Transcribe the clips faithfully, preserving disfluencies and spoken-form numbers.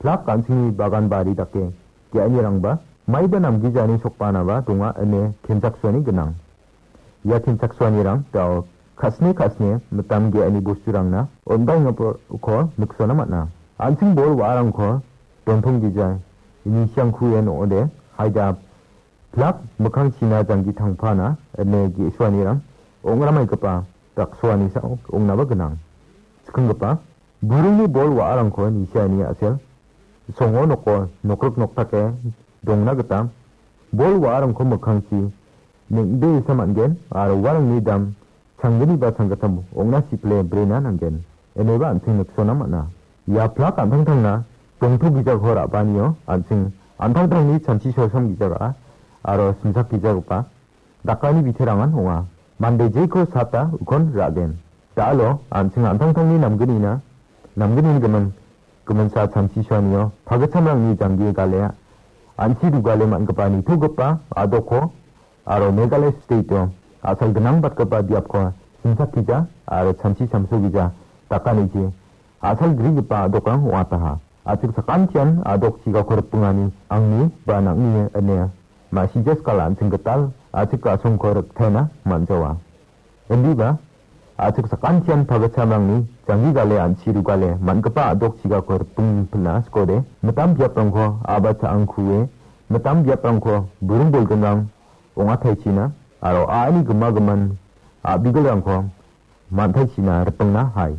Plak an·chingni bagan bari dake ge·anirangba maiba namgijani sokbanaba donga ine kenchaksoani gnang. Ia kenchaksoanirang dao kasne kasne mitam ge·ani bosturangna on·baengako niksona man·a. An·ching bol wa·arangko dontong gija ini siangkuen ong·ode haida plak mikkangchina janggi tangpana ine ge·suanirang ong·ramaigipa daksoani sao ong·naba gnang. Skanggipa, buringni bol wa·arangko nisiani a·sel songo noko nokrik noktake dongna gita bol wa·arangko mikkangchi neng·beesa man·gen aro uarangni dam changgni ba changgittam ong·na sipile brena nanggen. Ineba an·ching niksona man·a. Ia plak an·tangtangna dongto gijako ra·baanio an·ching an·tangtangni chanchi solsam gija ra·a aro simsak gijagipa dakani biterangan ong·a. Mande jeko sata ukon ra·gen. Da·alo an·ching an·tangtangni namgnina, namgnini gimin, giminsa chanchi soanio pagitchamrangni janggi galea an·chi rugale man·gipa nitogipa a·dokko aro Meghalaya state-o a·sal gnangbatgipa biapko simsakija aro chanchi samsogija dakaniji a·sal grigipa a·dokrang ong·ataha. A·chik sakantian a·dok chigako ripengani angni ba nang·ni ine ma·sija skala an·ching gital a·chik a·songko riktaina man·jawa. Indiba, a·chik sakantian pagitchamrangni janggi gale an·chi rugale man·gipa a·dok chigako ripeng pina skode, mitam biaprangko a·ba cha·angkue, mitam biaprangko buring bolgrimrang ong·ataichina, aro a·ani gima gimin a·bigilrangko man·taichina ripengna hai.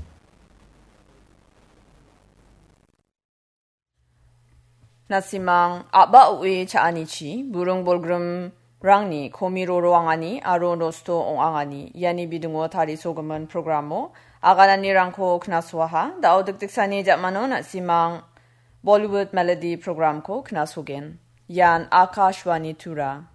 Nasimang a·ba o·e cha·anichi buring bolgrimrangni komi roroangani aro nosto ong·angani iani bidingo tarisogimin programo agananirangko knasoaha. Da·o dikdiksani ja·mano nasimang Bollywood Melody programko knasogen. Ian Akashvani Tura.